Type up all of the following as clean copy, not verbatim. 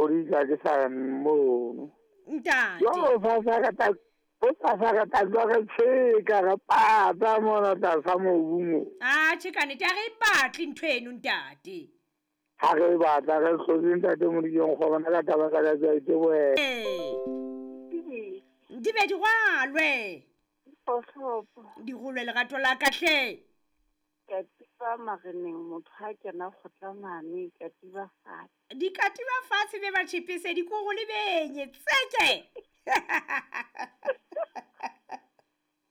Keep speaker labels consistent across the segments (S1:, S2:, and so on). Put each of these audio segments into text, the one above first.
S1: hodisa ke sa mono.
S2: Ntate.
S1: Jwale hosasa re tla hosasa re tla tloha re tjheka re pata mona tlasa mobu mo.
S2: Atjhe ka nnete ha re e batle ntho eno ntate.
S1: Ha re e batla re hlotse ntate Modikeng kgobana ka taba tsa ka ke a itebohela.
S2: Ee. Di be di rwalwe. Di rolwe lerato la ka hle.
S3: Katiba mareneng motho ha kena kgotla mane katiba fatshe.
S2: Dikatiba fatshe be ba tjhepese dikoro le benye tseke.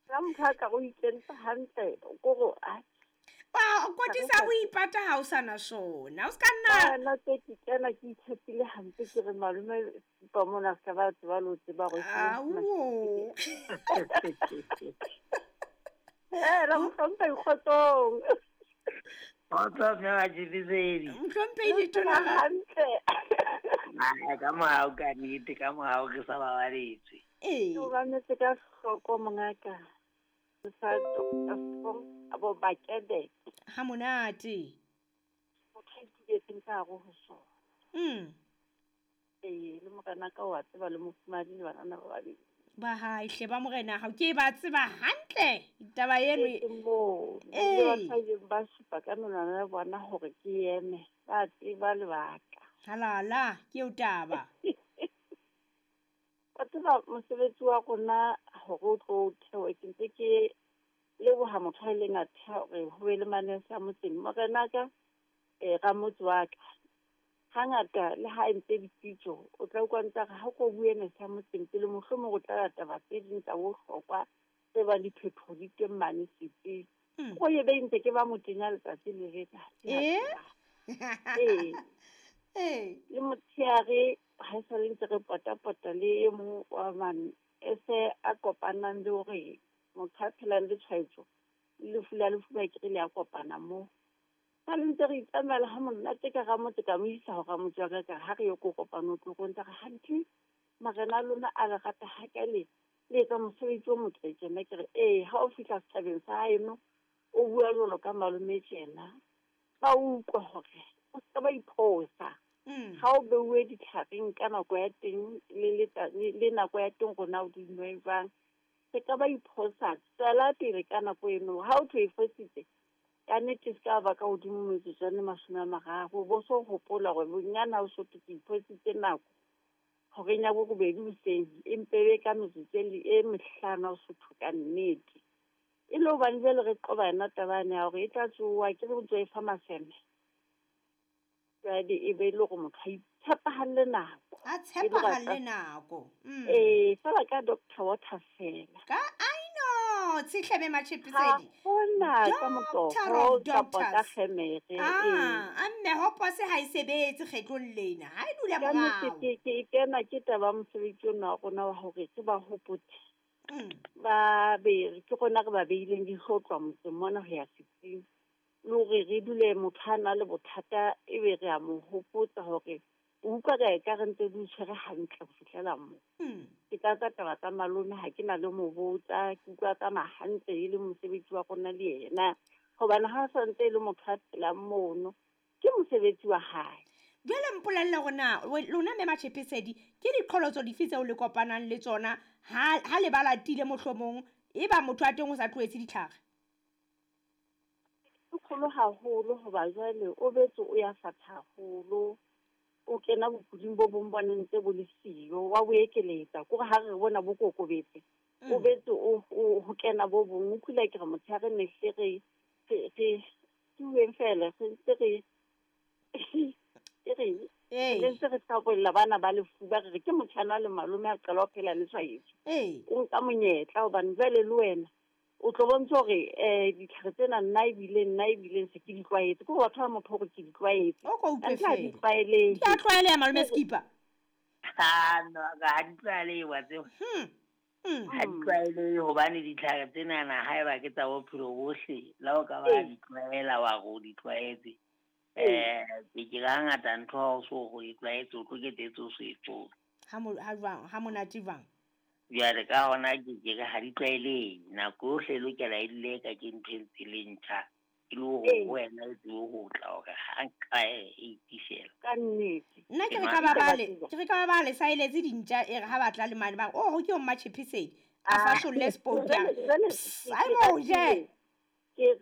S3: Ka motho a ka o ikentse hantle koro a
S2: Wa kotisa ho ipata ha o sana sona. O ska nna.
S3: Nna tse ke kena ke itshepile hampe ke re malome pa mona se ka ba tseba le ho tseba hore ke
S2: Ao.
S3: Eh, la mohlomphehi kgotsong.
S4: Kgotso mme wa Tshepesedi.
S2: Mohlomphehi letona la
S3: hantle.
S4: Ah, ka mohau ka nnete, ka mohau re sa babaletswe.
S2: Ee.
S3: O mametse ka hloko mongaka. Sa Dr. Strong abo Bakede.
S2: Ha monate.
S3: Motho a ituletseng ka hare ho sona. Ee, le morena ka wa tseba le mofumahadi le banana ba babedi.
S2: Ba hae hle ba morena hao ke ba tseba hantle taba eno.
S3: Ke moo
S2: Ee.
S3: le ba ileng ba supa ka menwana ya bona hore ke eme, ba tseba lebaka.
S2: Halala, ke eo taba.
S3: Wa tseba mosebetsi wa rona hore o tlo theohe, ke ntse ke leboha motho a ileng a theha hore ho be le manese a motseng. Morena ka ramotse wa ka, hangata le ha entse dipitso, o tla utlwa ntse a re ha ko bue nese ya motseng pele mohlomong o tla lata taba tse ding tsa bohlokwa tse bang diphetoho di teng mane setsing. O ye be ntse ke ba motenya letsatsi le letsatsi. Ee.
S2: Ee.
S3: Le motshehare ha e sale ntse re potapota le e mong wa mane e se a kopanang le hore motho a phelang le tshwaetso le lefu la lefuba ke re le a kopana moo. Ha le ntse re itsamaela ha monate ka ramotse ka mo isa ho ramotse wa ka ka ha re ye ko kopano tlo go ntse re hantle marena a lona a le rata ha ka le le etsa mosebetsi o motle tjena. Ke re ee, ha o fihla setjhabeng sa haeno o bua jwalo ka malome tjena, ba utlwa hore o ska ba iphosa. Ha o beuwe ditlhareng ka nako ya teng le nako ya teng rona o di nwe jwang, se ka ba iphosa. Tswela pele ka nako eno. Ha o thwe e fositse ka nnete se ka ba ka hodimo metsotswana 30, bo so hopola hore bonyane ha o so thwe ke iphositse nako horeng ya borobedi hoseng, empe e be ka metsotso e mehlano ha o so thwe ka nnete. E le hobane jwale re qoba yona taba yane ya hore e tla tsoha ke re o ntso e fa maseme. Jwale e be le hore motho a itshepahalle nako.
S2: A tshepahalle nako.
S3: Ee, feela ka Dr. Water fela.
S2: Ka I know, tshihlebe Matshepesedi.
S3: Ha hona ka
S2: Doctor
S3: motoho
S2: of
S3: kapa ka
S2: doctors.
S3: kgemere.
S2: Ah, a mme hopose ha e sebetse kgetlong lena. Ha e dula
S3: Ka nnete
S2: morao.
S3: ke kena ke taba ya mosebetsi ona wa rona wa hore re ba hopotse. Ba be ke rona re ba beileng leihlo ho tloha motseng mona ho ya setsing. Le hore re dule motho a na le bothata ebe re a mo hopotsa hore o utlwa ka ekare ntse di o tshwere hantle ho fihlela moo. Ke tlatsa taba tsa malome ha ke na le mo botsa, ke utlwa tsamaya hantle e le mosebetsi wa rona le yena. Hobane ha sa ntse e le motho a phelang mono, ke mosebetsi wa hae.
S2: Jwale mpolelle hore na lona mme Matshepesedi ke diqholotso dife tseo le kopanang le tsona ha le ba latile mohlomong e ba motho a teng o sa tlohetse ditlhare?
S3: E kgolo haholo hoba jwale o betse o ya fatha haholo. O kena bokuding bo bong bo neng ntse bo le siyo, wa bo ekeletsa. Kore ha re bona bo kokobetse, o betse o ho kena bo bong. O kula ke re motshehare ne hle re ke bueng fela, re ntse re ke re re ntse re hlabolla bana ba lefuba, re re ke motjhana le malome a qala ho phela le tshwaetso. O nka monyetla hobane jwale le wena o tlo bontsha hore ditlhare tsena nna ebile se ke di tlwaetse. Ke hore batho ba motho hore ke di tlwaetse.
S2: O ko utlwe
S3: Kantle ha di
S2: fela.
S3: tlwaelehe.
S2: Di a tlwaeleha malome Skipper.
S4: Ha, no, ha di tlwaelehe wa tseba. Ha di tlwaelehe hobane ditlhare tsenana haeba ke tsa bophelo bohle, le ha o ka ba di tlwaela wa re o di tlwaetse. Ke ke ka hangata ntho ha o so ho e tlwaetse, o tlo ketetse o so e qobe.
S2: Ha ha jwang, ha monate jwang?
S4: Jwale ka hona ke ke re ha di tlwaelehe. Nako yohle e lokela e dule e ka ke ntho e ntse le ntjha. E le hore wena e tsebe ho tla hore ha nka e itifela.
S3: Ka nnete.
S2: Nna ke re ka ba bale, ke re ka ba bale saeletse dintja e re ha ba tla le mane ba re, "Oh, ke o Mmatjhepesedi." A fasolle sport ya. Ai mo je.
S3: Ke